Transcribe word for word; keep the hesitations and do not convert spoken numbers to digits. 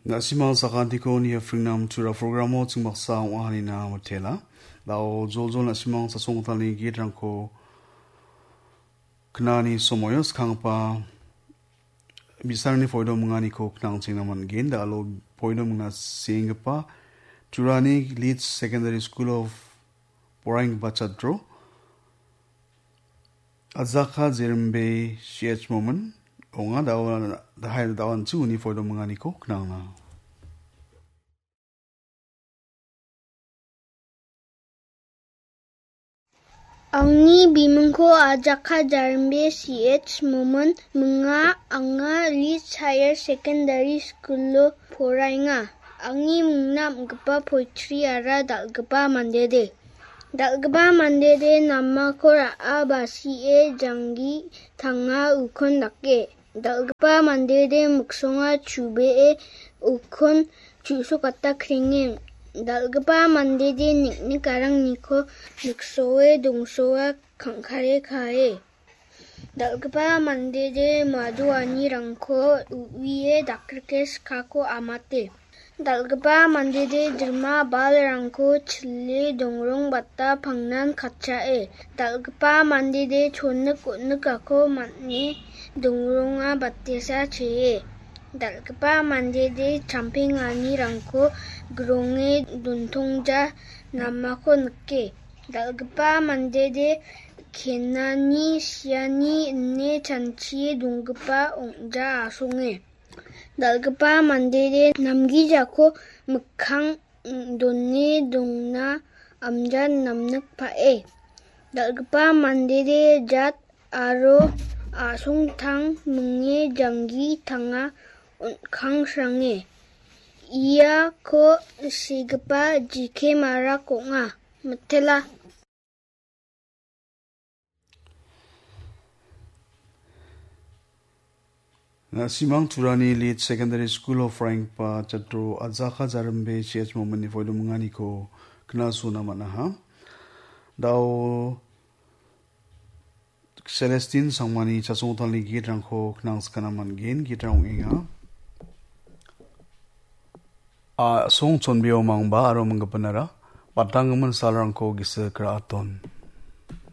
Na·simang sakantiko niapringnam tura programo chingmangsa ong·a hanina mitela. Dao joljol na·simang sasongtalni gitrangko knani somoio skanggipa bi·sarangni poido minganiko knangchengna man·gen. Da·alo poido mingna senggipa Turani Leeds Secondary School of poraienggipa chatro Ajaka Jerimbe C H Momin ong·a. Dao, dahai dao an·ching uni poido minganiko knangna. Angni bimingko Ajaka Jarimbe C H Momin minga, anga Leeds Higher Secondary School-o poraenga. Angni mingna am·gipa poitriara dal·gipa mandede. Dal·gipa mandede namako ra·a basie janggi tanga ukon dake. Dal·gipa mandede miksonga chubee ukon chu·sokata krenge. Dal·gipa mandede nik·nik arangniko miksoe dongsoa kangkare kae. Dal·gipa mandede madoanirangko u·ie dakrike skako amate. Dal·gipa mandede dirma balrangko chile dongrongbata pangnan katchae. Dal·gipa mandede chonik on·nikako man·e dongronga batesa chee. Dal·gipa mandede champenganirangko gronge dontongja namako nike. Dal·gipa mandede kenani siani ine chanchie donggipa ong·ja asonge. Dal·gipa mandede namgijako mikkang done dongna amja namnikpae. Dal·gipa mandede jat aro a·songtang minge janggi tanga on·kangshrange. Iako segipa jike marak ong·a. Mitela. Na·simang Turani Leeds Secondary School-o poraienggipa chatro Ajaka Jarimbe C H Mominni poido minganiko knasona man·aha. Dao Celestine Sangmani chasongtalni gitrangko knangskana man·gen. Gitrang ong·enga. A·song chonbeo mangba aro minggipanara batanggimin salrangko gisik ra·aton.